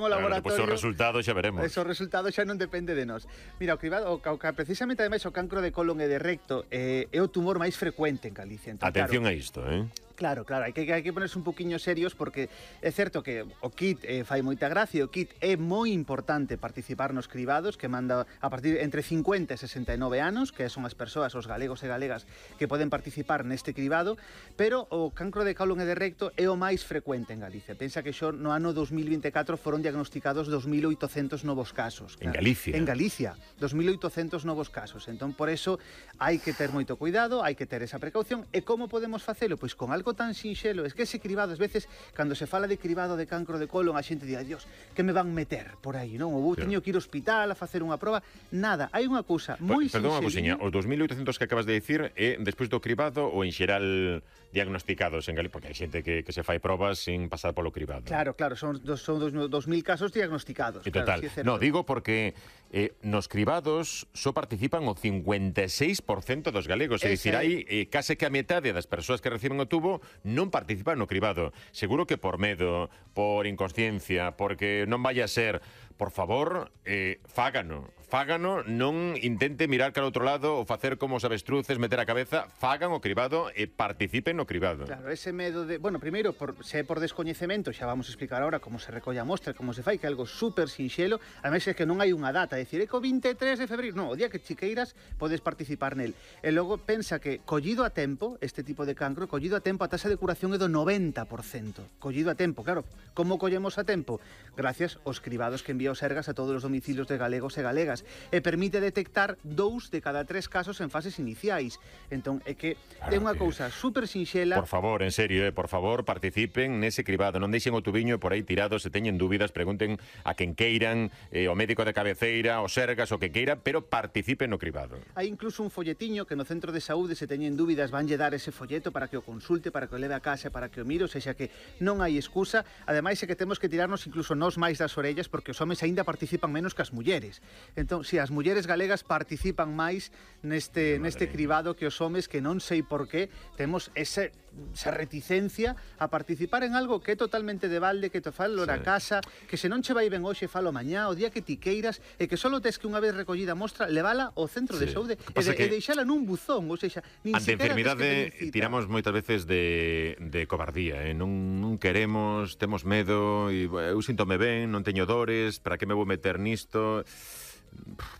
o laboratorio. Pois o resultado xa veremos. O resultado xa non depende de nós. Mira, o cribado, precisamente ademais o cancro de colon e de recto é o tumor máis frecuente en Galicia. Entón, Atención a isto, Claro, hai que ponerse un poquinho serios porque é certo que o kit fai moita gracia, o kit é moi importante participar nos cribados que manda a partir entre 50 e 69 anos, que son as persoas, os galegos e galegas que poden participar neste cribado, pero o cancro de colon e de recto é o máis frecuente en Galicia. Pensa que xo no ano 2024 foron diagnosticados 2.800 novos casos. Claro. En Galicia? En Galicia, 2.800 novos casos. Entón, por eso, hai que ter moito cuidado, hai que ter esa precaución. E como podemos facelo? Pois con algo tan sinxelo, es que ese cribado, ás veces, cando se fala de cribado de cancro de colon, a xente di, Dios, que me van meter por aí, non? Ou teño que ir ao hospital a facer unha proba. Nada, hai unha cousa moi sinxela. Perdón unha cousiña, os 2.800 que acabas de dicir é despois do cribado ou en xeral diagnosticados en Galicia? Porque hai xente que se fai probas sin pasar polo cribado. Claro, son 2.000 casos diagnosticados. E total, claro, sí, no, digo porque nos cribados só participan o 56% dos galegos, é dicir, hai case que a metade das persoas que reciben o tubo non participan no cribado. Seguro que por medo, por inconsciencia, porque non vai a ser, por favor, fágano, non intente mirar cara ao outro lado ou facer como os avestruces, meter a cabeza, fagan o cribado e participen no cribado. Claro, ese medo de... Bueno, primeiro, se é por descoñecemento, xa vamos a explicar ahora como se recolle a mostra, como se fai, que é algo super sinxelo, ademais é que non hai unha data, decir, é que o 23 de febreiro, non, o día que chiqueiras podes participar nel. E logo pensa que collido a tempo, este tipo de cancro, collido a tempo, a taxa de curación é do 90%. Collido a tempo, claro. Como collemos a tempo? Gracias aos cribados que envía o Sergas a todos os domicilios de galegos e galegas. E permite detectar 2 de cada 3 casos en fases iniciais. Entón, é que é unha cousa super sinxela. Por favor, en serio, por favor, participen nese cribado. Non deixen o tubiño por aí tirado, se teñen dúbidas, pregunten a quen queiran, o médico de cabeceira, o Sergas, o que queira, pero participen no cribado. Hai incluso un folletiño que no centro de saúde, se teñen dúbidas, vanlle dar ese folleto para que o consulte, para que o leve a casa, para que o mire, ou seja que non hai excusa. Ademais é que temos que tirarnos incluso nós máis das orellas porque os homes aínda participan menos que as mulleres. Entón, si as mulleres galegas participan máis neste cribado que os homes, que non sei por qué temos esa reticencia a participar en algo que é totalmente de balde, que te falo na casa, que se non che vai ben hoxe, falo mañá, o día que ti queiras, e que solo tes que unha vez recollida a mostra levala ao centro de saúde e deixala nun buzón, ou seja, nin ante siquiera enfermidade tiramos moitas veces de cobardía, non queremos, temos medo, e eu síntome ben, non teño dores, para que me vou meter nisto?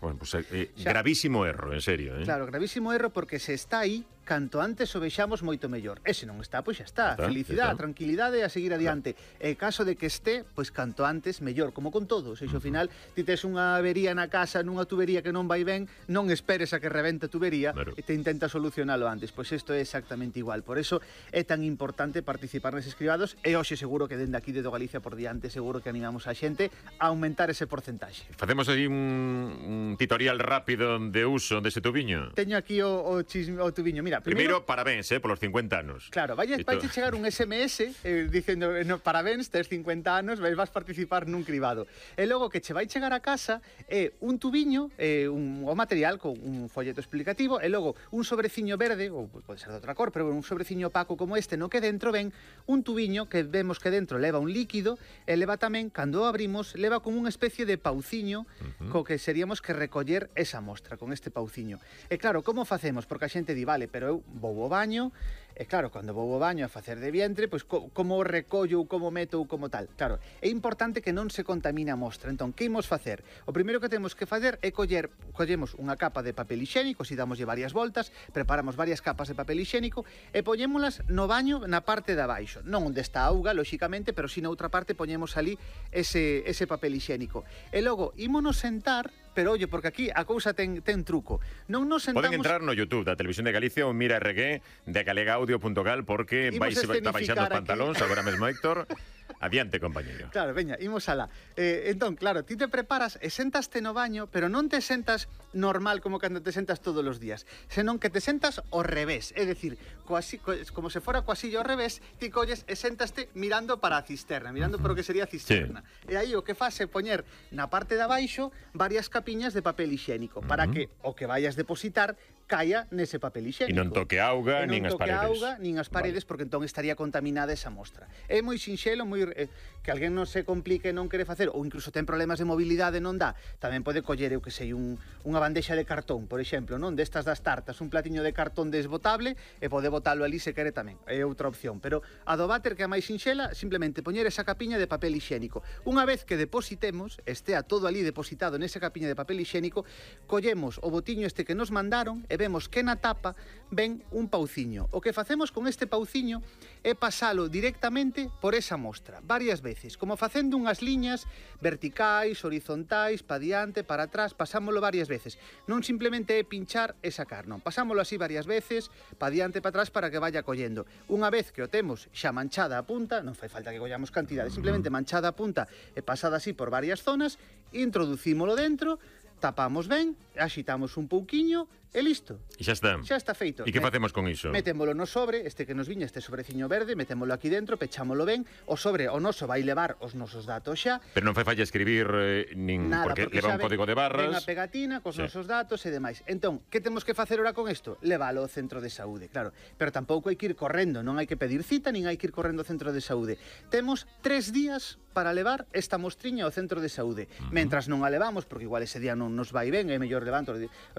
Bueno, pues, gravísimo erro, en serio. Claro, gravísimo erro porque se está aí, canto antes o vexamos moito mellor. E se non está, pois xa está. Felicidade, tranquilidade e a seguir adiante. E caso de que este, pois canto antes mellor, como con todo. Se ao final ti tes unha avería na casa, nunha tubería que non vai ben, non esperes a que rebente a tubería e te intenta solucionalo antes. Pois isto é exactamente igual. Por eso é tan importante participar neses cribados e hoxe seguro que dende aquí de Galicia por diante seguro que animamos a xente a aumentar ese porcentaxe. Facemos aí un tutorial rápido de uso dese tubiño. Teño aquí o tubiño. Mira, primeiro parabéns, polos 50 anos. Claro, vai chegar un SMS dicendo, parabéns, tes 50 anos, vas participar nun cribado. E logo que che vai chegar a casa é un tubiño, o material con un folleto explicativo, e logo un sobreciño verde, ou pode ser de outra cor, pero un sobreciño opaco como este, no que dentro ven un tubiño que vemos que dentro leva un líquido, e leva tamén, cando o abrimos, leva como unha especie de pauciño, co que seríamos que recoller esa mostra con este pauciño. E claro, como facemos? Porque a xente di, vale, pero eu vou ao baño, e claro, cando vou ao baño a facer de vientre, pois como recollo ou como meto ou como tal. Claro, é importante que non se contamine a mostra. Entón, que imos facer? O primeiro que temos que facer é collemos unha capa de papel higiénico, si damoslle varias voltas, preparamos varias capas de papel higiénico e poñémolas no baño na parte de abaixo. Non onde está a auga, lóxicamente, pero si na outra parte poñemos ali ese papel higiénico. E logo, ímonos sentar, pero oye, porque aquí a cousa ten truco. Non nos sentamos... Poden entrar no YouTube da Televisión de Galicia ou Mira RG de galegaaudio.gal porque vai baixando os pantalóns agora mesmo, Héctor. Adiante, compañeiro. Claro, veña, imos alá. Entón, claro, ti te preparas e sentaste no baño, pero non te sentas normal como cando te sentas todos os días, senón que te sentas ao revés, é dicir, como se fora coa silla ao revés, ti colles e sentaste mirando para a cisterna, mirando para o que sería a cisterna. E aí o que faz é poñer na parte de abaixo varias capiñas de papel higiénico, para que o que vayas depositar caia nese papel higiénico. E non toque auga, nin as paredes. Nin as paredes, porque entón estaría contaminada esa mostra. É moi sinxelo, que alguén non se complique, non quere facer, ou incluso ten problemas de mobilidade, non dá, tamén pode coller, eu que sei, unha bandexa de cartón, por exemplo, non, destas das tartas, un platiño de cartón desbotable, e pode botalo ali se quere tamén, é outra opción. Pero a do váter, que é máis sinxela, simplemente poñer esa capiña de papel higiénico. Unha vez que depositemos, estea todo ali depositado nesa capiña de papel higiénico, collemos o botiño este que nos mandaron e vemos que na tapa ven un pauciño. O que facemos con este pauciño é pasalo directamente por esa mostra, varias veces, como facendo unhas liñas verticais, horizontais, pa diante, para atrás, pasámolo varias veces. Non simplemente é pinchar e sacar, non. Pasámolo así varias veces, pa diante, pa atrás, para que vaya collendo. Unha vez que o temos xa manchada a punta, non fai falta que collamos cantidade, simplemente manchada a punta e pasada así por varias zonas, introducímolo dentro, tapamos ben, axitamos un pouquiño e listo. E xa está. Xa está feito. E que facemos con iso? Metémolo no sobre, este que nos viña, este sobreciño verde, metémolo aquí dentro, pechámolo ben, o sobre, o noso vai levar os nosos datos xa. Pero non fai falla escribir nin nada, porque leva un código de barras. Ven a pegatina cos nosos datos e demais. Entón, que temos que facer ora con isto? Levalo ao centro de saúde, claro. Pero tampouco hai que ir correndo, non hai que pedir cita, nin hai que ir correndo ao centro de saúde. Temos 3 días para levar esta mostriña ao centro de saúde. Mentras non a levamos, porque igual ese día non nos vai ben, é mellor levanto,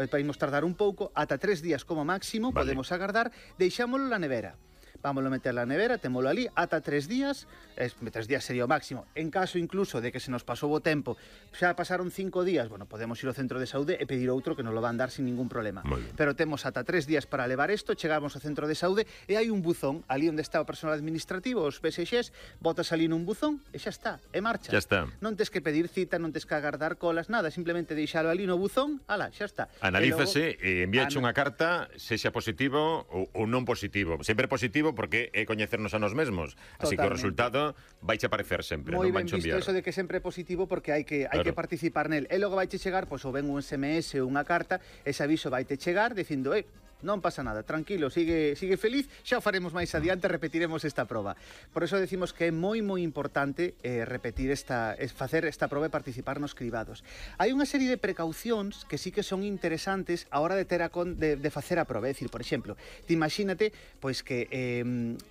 podemos tardar un pouco, ata 3 días como máximo, podemos agardar, deixámolo na nevera. Vámoslo meter na nevera, témolo ali, ata 3 días, 3 días sería o máximo. En caso incluso de que se nos pasou o tempo, xa pasaron 5 días, bueno, podemos ir ao centro de saúde e pedir outro que nos lo van dar sin ningún problema. Pero temos ata 3 días para levar isto, chegamos ao centro de saúde e hai un buzón, ali onde está o personal administrativo, os PSXs, botas ali nun buzón e xa está, e marcha. Xa está. Non tes que pedir cita, non tes que agardar colas, nada, simplemente deixalo ali no buzón, ala, xa está. Analízase e envíache unha carta, sexa positivo ou non positivo. Sempre positivo porque é coñecernos a nós mesmos. Así que o resultado vaiche aparecer sempre, non ben vanche visto enviar. Eso de que sempre é positivo porque hai que participar nel. E logo vaiche chegar, pois, ou ben un SMS ou unha carta, ese aviso vaite chegar dicindo, non pasa nada, tranquilo, sigue feliz, xa o faremos máis adiante, repetiremos esta proba. Por eso decimos que é moi importante repetir facer esta proba e participar nos cribados. Hai unha serie de precaucións que sí que son interesantes a hora de facer a proba, é dicir, por exemplo, te imagínate pois que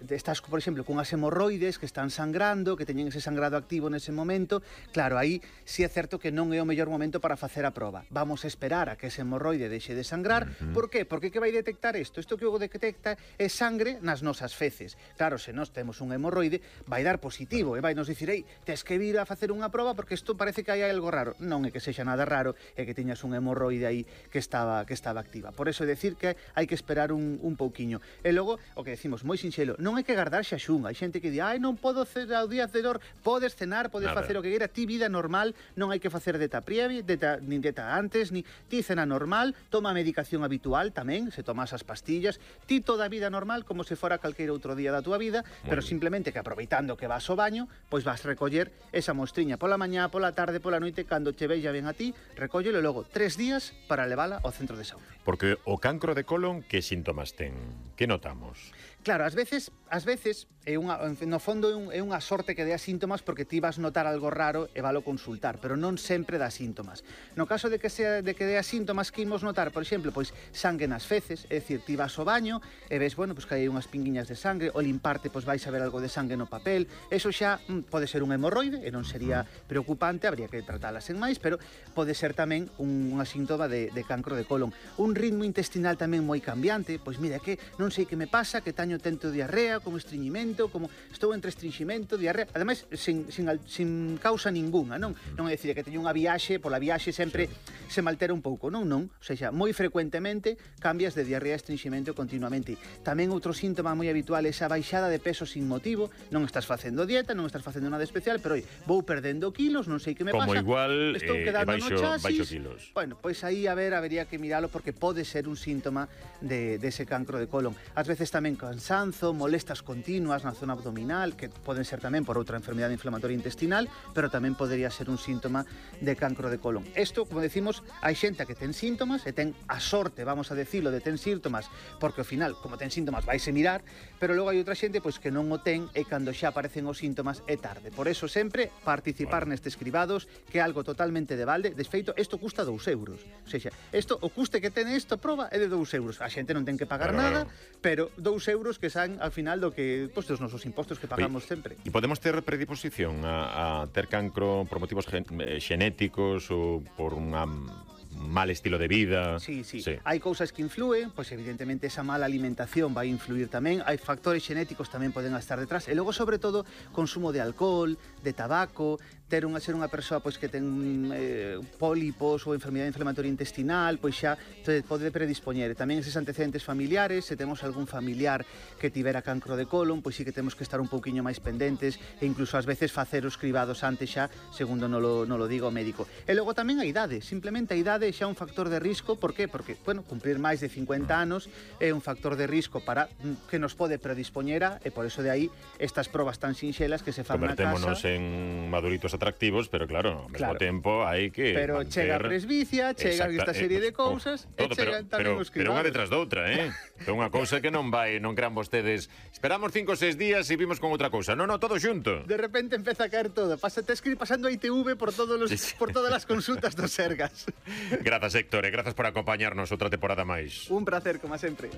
estás, por exemplo, cunhas hemorroides que están sangrando, que teñen ese sangrado activo nese momento, claro, aí sí é certo que non é o mellor momento para facer a proba. Vamos a esperar a que ese hemorroide deixe de sangrar. Por qué? Porque que vai detectar isto? Isto que o detecta é sangre nas nosas feces. Claro, se nós temos un hemorroide, vai dar positivo e vai nos dicir, tes que vir a facer unha proba porque isto parece que hai algo raro. Non é que sexa nada raro, é que tiñas un hemorroide aí que estaba activa. Por eso é decir que hai que esperar un pouquiño. E logo, o que decimos, moi sinxelo, non hai que agardar xaxún. Hai xente que di, non podo cenar ao día cedor, podes cenar, podes facer o que queira, ti vida normal, non hai que facer dieta previa, nin dieta antes, ni ti cena normal, toma a medicación habitual tamén, se tomas as pastillas, ti toda a vida normal como se fora calqueira outro día da túa vida, pero simplemente que aproveitando que vas ao baño, pois vas recoller esa mostriña pola mañá, pola tarde, pola noite, cando che vexa ben a ti, recóllelo logo 3 días para levala ao centro de saúde. Porque o cancro de colon, que síntomas ten? Que notamos? Claro, ás veces no fondo é unha sorte que dea síntomas porque ti vas notar algo raro e valo consultar, pero non sempre dá síntomas. No caso de que dea síntomas que imos notar, por exemplo, pois sangue nas feces, é dicir, ti vas ao baño e ves, bueno, pois que hai unhas pinguiñas de sangre, o limparte, pois vais a ver algo de sangue no papel, eso xa pode ser un hemorroide e non sería preocupante, habría que tratalas en máis, pero pode ser tamén unha síntoma de cancro de colon. Un ritmo intestinal tamén moi cambiante, pois mira, que non sei que me pasa, que teño tento diarrea, como estreñimento, como estou entre estreñimento, diarrea, ademais sin causa ningunha, non é dicir que teño unha viaxe, pola viaxe sempre se me altera un pouco, non, o sea, moi frecuentemente cambias de diarrea a estreñimento continuamente. Tamén outro síntoma moi habitual é esa baixada de peso sin motivo, non estás facendo dieta, non estás facendo nada especial, pero vou perdendo kilos, non sei que me pasa, como igual estou quedando no chasis, kilos. Bueno, pois aí habería que miralo porque pode ser un síntoma dese cancro de colon. Ás veces tamén cansanzo, molestas continuas na zona abdominal, que poden ser tamén por outra enfermidade inflamatoria intestinal, pero tamén podería ser un síntoma de cancro de colon. Isto, como decimos, hai xente que ten síntomas e ten a sorte, vamos a decirlo, de ten ten síntomas, porque ao final, como ten síntomas, vaise mirar, pero logo hai outra xente pois que non o ten e cando xa aparecen os síntomas é tarde. Por eso sempre participar nestes cribados, que é algo totalmente de balde. De feito, isto custa 2 euros. O sea, isto, o custe que ten isto proba é de 2 euros. A xente non ten que pagar nada, pero 2 euros que san ao final do que, pois, dos nosos impostos que pagamos sempre. E podemos ter predisposición a ter cancro por motivos xenéticos ou por unha mal estilo de vida. Sí. Hai cousas que influen, pois evidentemente esa mala alimentación vai influir tamén, hai factores xenéticos tamén poden estar detrás, e logo sobre todo consumo de alcohol, de tabaco, ser unha persoa pois que ten pólipos ou enfermidade inflamatoria intestinal, pois xa pode predispoñer. E tamén eses antecedentes familiares, se temos algún familiar que tivera cancro de colon, pois sí que temos que estar un pouquiño máis pendentes e incluso ás veces facer os cribados antes xa, segundo non lo diga o médico. E logo tamén a idade, simplemente a idade xa un factor de risco. Por qué? Porque, bueno, cumprir máis de 50 anos é un factor de risco para que nos pode predispoñer e por eso de aí estas probas tan sinxelas que se fan na casa. Convertémonos en maduritos atractivos, pero claro, ao mesmo tempo hai que pero manter... chega a presbicia, chegan esta serie de cousas e chegan tamén os cribados. Pero unha detrás da outra, é unha cousa que non crean vostedes, esperamos 5 ou 6 días e vimos con outra cousa. Non, todo xunto. De repente empeza a caer todo. Te escribe pasando a ITV por todas as consultas dos Sergas. Grazas, Héctor, e grazas por acompañarnos outra temporada máis. Un placer, como sempre.